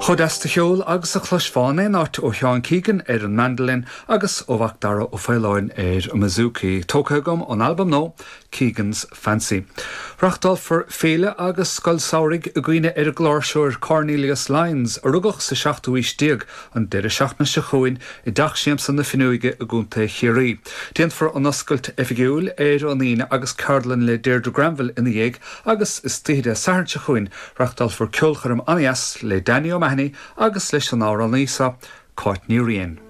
Chomh deas de cheol agus a chloisfeá in aon áit ó Sheán Keegan ar an mandolin agus ó Mhacdara Ó Faoláin ar an mbouzouki. Tógtha agam ón albam nua, Keegan's Fancy. Reachtálfar féile agus scoil samhraidh i gcuimhne ar an gcláirseoir Cornelius Lyons, a rugadh sa seachtú aois déag, an deireadh seachtaine seo chugainn i dTeach Siamsa na Finneoige i gContae Chiarraí. Déanfar an oscailt oifigiúil ar an Aoine agus ceardlann le Deirdre Granville ina dhiaidh agus istoíche Dé Sathairn seo chugainn Reachtálfar ceolchoirm an-dheas le Danny O'Mahony agus leis an amhránaí seo, Cáit Ní Riain.